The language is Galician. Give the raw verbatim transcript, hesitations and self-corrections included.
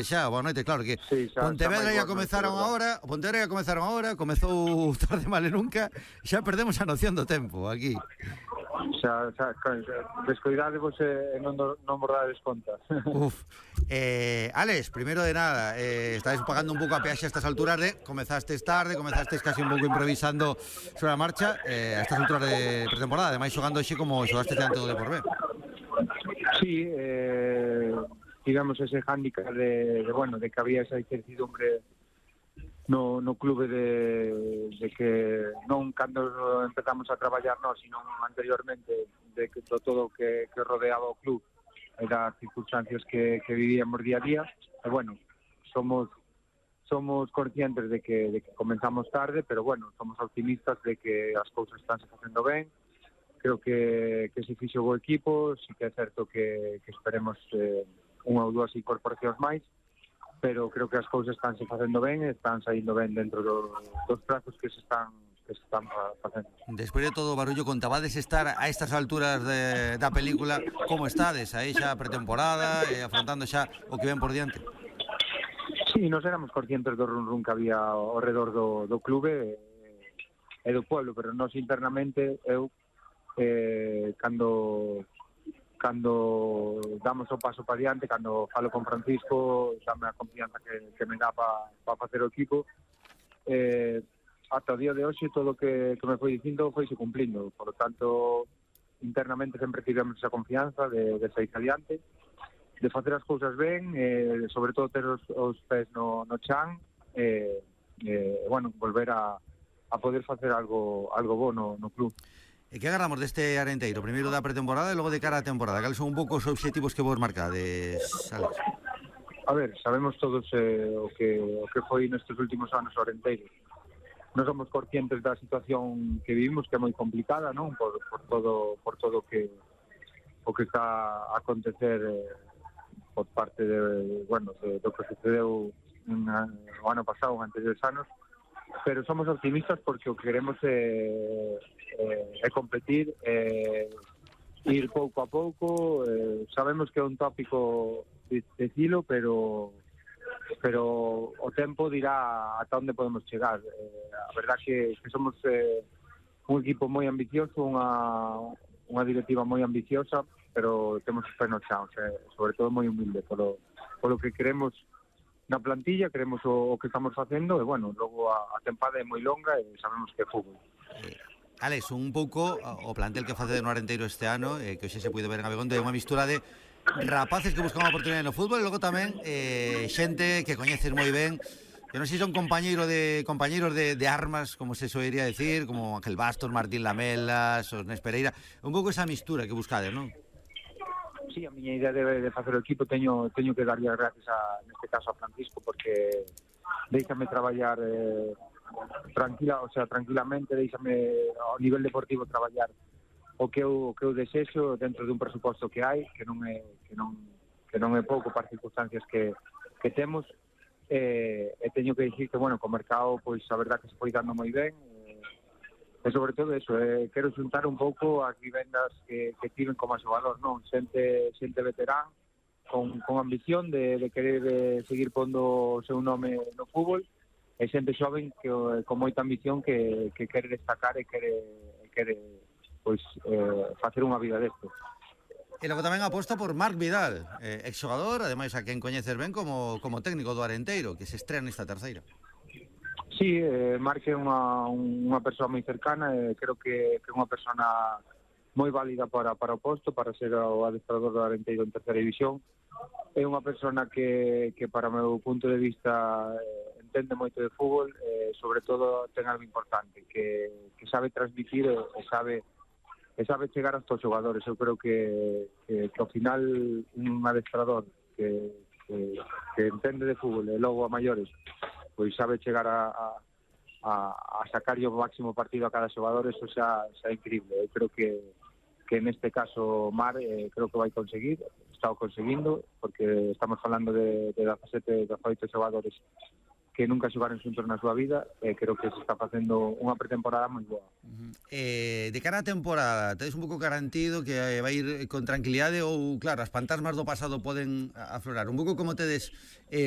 Xa, boa noite, claro que sí, xa, Pontevedra xa ia comezaron agora, Pontevedra ia comezaron agora, comezou tarde male nunca, xa perdemos a noción do tempo aquí. Xa, xa, descoidadevos e non, non bordades contas. Uf, eh, Alex, primeiro de nada, eh, estáis pagando un pouco a peaxe a estas alturas de, comezastes tarde, comezastes casi un pouco improvisando sobre a marcha, eh, a estas alturas de pretemporada, ademais xogando xe como xogastes diante do Deporvé. Sí, eh... digamos ese hándicap de, de bueno, de que había esa incertidumbre no, no clube de, de que non cando empezamos a traballar nós, sino anteriormente, de que todo que, que rodeaba o club e das circunstancias que, que vivíamos día a día, e bueno, somos somos conscientes de que, de que comenzamos tarde, pero bueno, somos optimistas de que as cousas están se facendo ben. Creo que, que se fixo o equipo, sí que é certo que, que esperemos eh, unha ou dúas incorporacións máis, pero creo que as cousas están se facendo ben e están saindo ben dentro do, dos prazos que se están que se están facendo. Despois de todo o barullo, contabades estar a estas alturas de, da película, como estades? Aí xa pretemporada, e afrontando xa o que ven por diante? Sí, nos éramos conscientes do run run que había ao redor do, do clube e, e do pueblo, pero nos internamente eu eh, cando cando damos o paso para diante, cando falo con Francisco, dame a confianza que, que me dá para pa facer o equipo, eh, ata o día de hoxe todo o que, que me foi dicindo foi se cumplindo, por lo tanto internamente sempre tivemos esa confianza de, de sair adiante, de facer as cousas ben, eh, sobre todo ter os, os pés no, no chan, e eh, eh, bueno, volver a, a poder facer algo algo bo no, no club. E que agardamos deste Arenteiro? Primeiro da pretemporada e logo de cara á temporada. Cales son un pouco os obxectivos que vos marcades, Alex? A ver, sabemos todos eh, o que o que foi nestes últimos anos o Arenteiro. Non somos conscientes da situación que vivimos, que é moi complicada, non? Por, por todo por todo que o que está a acontecer eh, por parte de, bueno, de, do que sucedeu una, o ano pasado, antes dos anos, pero somos optimistas porque o que queremos é eh, é competir, eh, ir pouco a pouco, eh, sabemos que é un tópico dicilo, pero pero o tempo dirá ata onde podemos chegar. Eh, a verdad que, que somos eh, un equipo moi ambicioso, unha, unha directiva moi ambiciosa, pero temos os pés no chan, eh, sobre todo moi humilde polo, polo que queremos na plantilla, queremos o, o que estamos facendo, e bueno, logo a, a tempada é moi longa e sabemos que é fútbol. Eh, Alex, un pouco o plantel que face no Arenteiro este ano, eh, que hoxe se puido ver en Abegondo, é unha mistura de rapaces que buscan unha oportunidade no fútbol e logo tamén eh, xente que coñeces moi ben, que non sei son compañeiro de compañeiros de, de armas, como se soiría decir, como Ángel Bastos, Martín Lamelas, Osnes Pereira, un pouco esa mistura que buscades, non? Sí, a miña idea de, de facer o equipo teño teño que darlle as gracias a, neste caso a Francisco, porque déixame traballar eh, tranquila, o sea, tranquilamente, déixame ao nivel deportivo traballar o que eu o que eu desexo dentro dun presuposto que hai, que non é que non que non é pouco para as circunstancias que que temos, eh, e teño que dicir que bueno, co mercado pois a verdad que se foi dando moi ben. E sobre todo eso, eh, quero xuntar un pouco as vivendas que, que tiven como xogador, non? Xente, xente veterán, con, con ambición de, de querer de seguir pondo o seu nome no fútbol, e xente xoven que, con moita ambición que, que quere destacar e quere, quere pois, eh, facer unha vida desto. E logo tamén aposta por Marc Vidal, eh, exxogador, ademais a quen coñeces ben como, como técnico do Arenteiro, que se estrea nesta terceira. Sí, eh, Marc é unha, unha persoa moi cercana, e eh, creo que é unha persona moi válida para, para o posto, para ser o adestrador do Arenteiro en terceira división. É unha persona que, que para o meu punto de vista eh, entende moito de fútbol, eh, sobre todo ten algo importante, que, que sabe transmitir e, e sabe e sabe chegar aos todos os xogadores. Eu creo que, que, que ao final un adestrador que, que, que entende de fútbol e logo a maiores pois sabe chegar a, a, a sacar o máximo partido a cada xogador, eso xa, xa é increíble. Eu creo que, que neste caso Mar eh, creo que vai conseguir, está o conseguindo, porque estamos falando de, de dezasete, dezaoito xogadores que nunca xogaron xuntos na súa vida, e creo que se está facendo unha pretemporada moi boa. Uh-huh. Eh, de cara á temporada, tedes un pouco garantido que eh, vai ir con tranquilidade ou, claro, as fantasmas do pasado poden aflorar? Un pouco como tedes eh,